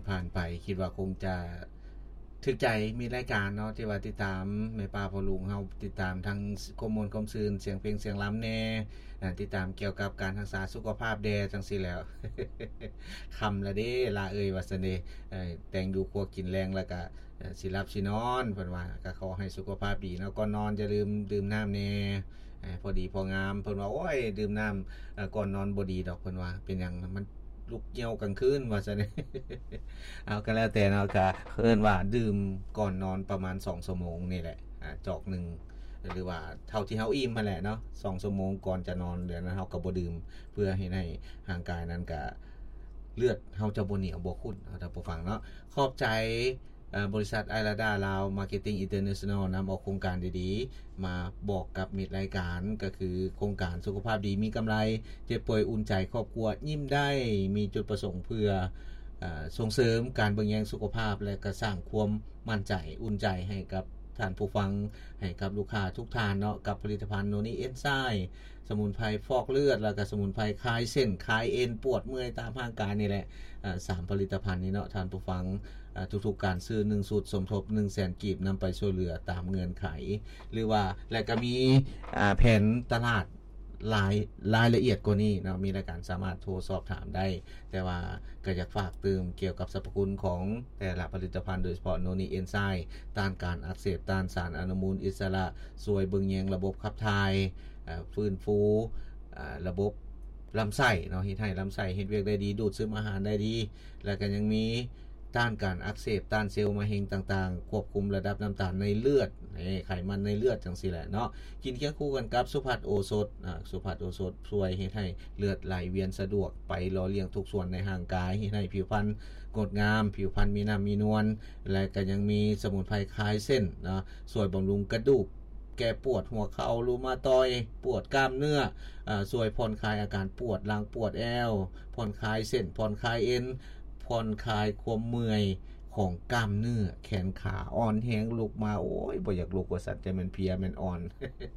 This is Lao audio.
ຜ່ານໄປ ຄິດວ່າຄົງຈະຖືກໃຈມິດລາຍການເນາະ ທີ່ວ່າຕິດຕາມແມ່ປ້າພໍ່ລຸງເຮົາ ຕິດຕາມທັງຄວາມມ່ວນຄວາມຊື່ນ ສຽງເພງສຽງລຳແດ່ ຕິດຕາມກ່ຽວກັບການຮັກສາສຸຂະພາບແດ່ ຈັ່ງຊີ້ແຫຼ້ວ. ຄ່ຳລະເດ້ ຫຼ້າເອີຍ ວ່າຊັ້ນເດ ແຕ່ງຢູ່ຄົວກິນແລງ ແລ້ວກະ ເອີ່ ຊິຫຼັບຊິນອນ ເພິ່ນວ່າ ກໍຂໍໃຫ້ສຸຂະພາບດີເນາະ ກ່ອນນອນຢ່າລືມດື່ມນ້ຳແດ່ ເອີ່ ພໍດີພໍງາມ ເພິ່ນວ່າ ໂອ້ຍ ດື່ມນ້ຳ ເອີ່ ກ່ອນນອນບໍ່ດີດອກ ເພິ່ນວ່າ ເປັນຫຍັງ ມັນລຸກຍ່ຽວກາງຄືນ ວ່າຊັ້ນ. ເອົາ ກໍແລ້ວແຕ່ເນາະ ກໍເອີ້ນວ່າດື່ມກ່ອນນອນປະມານສອງຊົ່ວໂມງນີ້ແຫຼະ ອາ ຈອກໜຶ່ງ ຫຼືວ່າເທົ່າທີ່ເຮົາອີ່ມຫັ້ນແຫຼະເນາະ ສອງຊົ່ວໂມງກ່ອນຈະນອນ ແລ້ວນັ້ນເຮົາກໍບໍ່ດື່ມ ເພື່ອເຮັດໃຫ້ຮ່າງກາຍນັ້ນກະ ເລືອດເຮົາຈະບໍ່ໜຽວບໍ່ຂຸ້ນເນາະ ທ່ານຜູ້ຟັງເນາະ. ຂອບໃຈ ເອີ່ ບໍລິສັດ ໄອລາດາ ລາວ ມາເກັດຕິງ ອິນເຕີເນຊັນແນລ ນຳເອົາໂຄງການດີໆ ມາບອກກັບມິດລາຍການ ກໍຄືໂຄງການສຸຂະພາບດີມີກຳໄລ ເຈັບປ່ວຍອຸ່ນໃຈ ຄອບຄົວຍິ້ມໄດ້ ມີຈຸດປະສົງເພື່ອ ເອີ່ ສົ່ງເສີມການເບິ່ງແຍງສຸຂະພາບ ແລະ ກະສ້າງຄວາມໝັ້ນໃຈ ອຸ່ນໃຈໃຫ້ກັບທ່ານຜູ້ຟັງ ໃຫ້ກັບລູກຄ້າທຸກທ່ານເນາະ ກັບຜະລິດຕະພັນໂນນີເອັນໄຊ ສະໝຸນໄພຟອກເລືອດ ແລ້ວກະສະໝຸນໄພຄາຍເສັ້ນຄາຍເອັນ ປວດເມື່ອຍຕາມຮ່າງກາຍນີ້ແຫຼະ. ເອີ່ ສາມຜະລິດຕະພັນນີ້ເນາະ ທ່ານຜູ້ຟັງ ເອີ່ ທຸກໆການຊື້ໜຶ່ງຊຸດ ສົມທົບໜຶ່ງແສນກີບ ນຳໄປຊ່ວຍເຫຼືອຕາມເງື່ອນໄຂ ຫຼືວ່າ ແລະ ກະມີ ອາ ແຜນຕະຫຼາດ ລາຍ ລາຍລະອຽດກວ່ານີ້ເນາະ ມີລາຍການສາມາດໂທສອບຖາມໄດ້ ແຕ່ວ່າກໍຢາກຝາກຕື່ມກ່ຽວກັບສັບພະຄຸນຂອງແຕ່ລະຜະລິດຕະພັນ ໂດຍສະເພາະໂນນີເອັນໄຊ ຕ້ານການອັກເສບ ຕ້ານສານອະນຸມູນອິດສະຫຼະ ຊ່ວຍເບິ່ງແຍງລະບົບຂັບຖ່າຍ ເອີ່ ຟື້ນຟູ ເອີ່ ລະບົບລຳໄສ້ເນາະ ເຮັດໃຫ້ລຳໄສ້ເຮັດວຽກໄດ້ດີ ດູດຊຶມອາຫານໄດ້ດີ ແລ້ວກໍຍັງມີຕ້ານການອັກເສບ ຕ້ານເຊວມະເຮັງຕ່າງໆ ຄວບຄຸມລະດັບນ້ຳຕານໃນເລືອດ ເອີ ໄຂມັນໃນເລືອດ ຈັ່ງຊີ້ແຫຼະເນາະ. ກິນຄຽງຄູ່ກັນກັບສຸພັດໂອສົດ ອາ ສຸພັດໂອສົດຊ່ວຍເຮັດໃຫ້ເລືອດໄຫຼວຽນສະດວກ ໄປຫຼໍ່ລ້ຽງທຸກສ່ວນໃນຮ່າງກາຍ ເຮັດໃຫ້ຜິວພັນງົດງາມ ຜິວພັນມີນ້ຳມີນວນ ແລະ ກໍຍັງມີສະໝຸນໄພຄາຍເສັ້ນເນາະ ຊ່ວຍບຳລຸງກະດູກ ແກ້ປວດຫົວເຂົ່າ ຣູມາຕອຍ ປວດກ້າມເນື້ອ ອາ ຊ່ວຍຜ່ອນຄາຍອາການປວດຫຼັງ ປວດແອວ ຜ່ອນຄາຍເສັ້ນ ຜ່ອນຄາຍເອັນ ຜ່ອນຄາຍຄວາມເມື່ອຍຂອງກ້າມເນື້ອແຂນຂາ ອ່ອນແຮງລຸກມາ ໂອ້ຍ ບໍ່ຢາກລຸກວ່າຊັ້ນ ຈະແມ່ນເພຍແມ່ນອ່ອນ.